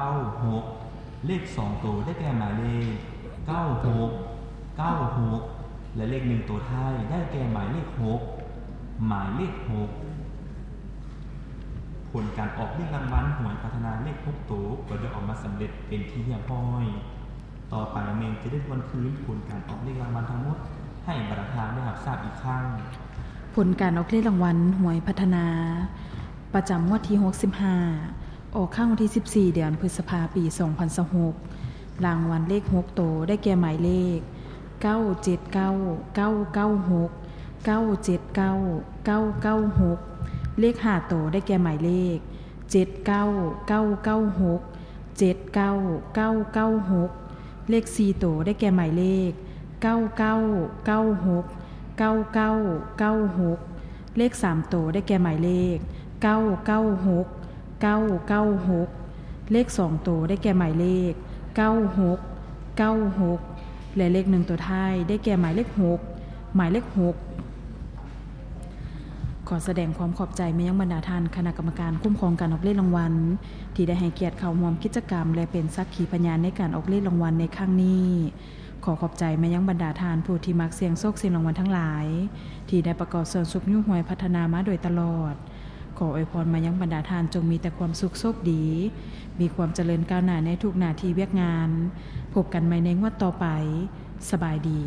ເກົ້າຫົກ ເລກສອງໂຕໄດ້ແກ່ໝາຍເລກ ເກົ້າຫົກ ເກົ້າຫົກ ແລະ ເລກໜຶ່ງໂຕທ້າຍໄດ້ແກ່ໝາຍເລກຫົກ ໝາຍເລກຫົກ. ຜົນການອອກເລກລາງວັນຫວຍພັດທະນາເລກຫົກໂຕກໍໄດ້ອອກມາສຳເລັດເປັນທີ່ຮຽບຮ້ອຍ. ຕໍ່ໄປແມ່ນຈະໄດ້ທວນຄືນຜົນການອອກເລກລາງວັນທັງໝົດໃຫ້ບັນດາທ່ານໄດ້ຮັບຊາບອີກຄັ້ງ. ຜົນການອອກເລກລາງວັນຫວຍພັດທະນາ ປະຈຳງວດທີຫົກສິບຫ້າ ອອກຄັ້ງວັນທີສິບສີ່ ເດືອນພຶດສະພາ ປີສອງພັນຊາວຫົກ. ລາງວັນເລກຫົກໂຕໄດ້ແກ່ໝາຍເລກ ເກົ້າເຈັດເກົ້າ ເກົ້າເກົ້າຫົກ ເກົ້າເຈັດເກົ້າ ເກົ້າເກົ້າຫົກ. ເລກຫ້າໂຕໄດ້ແກ່ໝາຍເລກ ເຈັດເກົ້າ ເກົ້າເກົ້າຫົກ ເຈັດເກົ້າ ເກົ້າເກົ້າຫົກ. ເລກສີ່ໂຕໄດ້ແກ່ໝາຍເລກ ເກົ້າເກົ້າ ເກົ້າຫົກ ເກົ້າເກົ້າ ເກົ້າຫົກ. ເລກສາມໂຕໄດ້ແກ່ໝາຍເລກ ເກົ້າເກົ້າຫົກ ເກົ້າເກົ້າຫົກ. ເລກສອງໂຕໄດ້ແກ່ໝາຍເລກ ເກົ້າຫົກ ເກົ້າຫົກ ແລະ ເລກໜຶ່ງໂຕທ້າຍໄດ້ແກ່ໝາຍເລກຫົກ ໝາຍເລກຫົກ. ຂໍສະແດງຄວາມຂອບໃຈມາຍັງບັນດາທ່ານຄະນະກຳມະການຄຸ້ມຄອງການອອກເລກລາງວັນ ທີ່ໄດ້ໃຫ້ກຽດເຂົ້າຮ່ວມກິດຈະກຳ ແລະ ເປັນສັກຂີພະຍານໃນການອອກເລກລາງວັນໃນຄັ້ງນີ້. ຂໍຂອບໃຈມາຍັງບັນດາທ່ານຜູ້ທີ່ມັກສ່ຽງໂຊກສ່ຽງລາງວັນທັງຫຼາຍ ທີ່ໄດ້ປະກອບສ່ວນຊຸກຍູ້ຫວຍພັດທະນາມາໂດຍຕະຫຼອດ. ຂໍອວຍພອນມາຍັງບັນດາທ່ານຈົ່ງມີແຕ່ຄວາມສຸກໂຊກດີ, ມີຄວາມຈະເລີນກ້າວໜ້າໃນທຸກໜ້າທີ່ວຽກງານ. ພົບກັນໃໝ່ໃນງວດຕໍ່ໄປ. ສະບາຍດີ.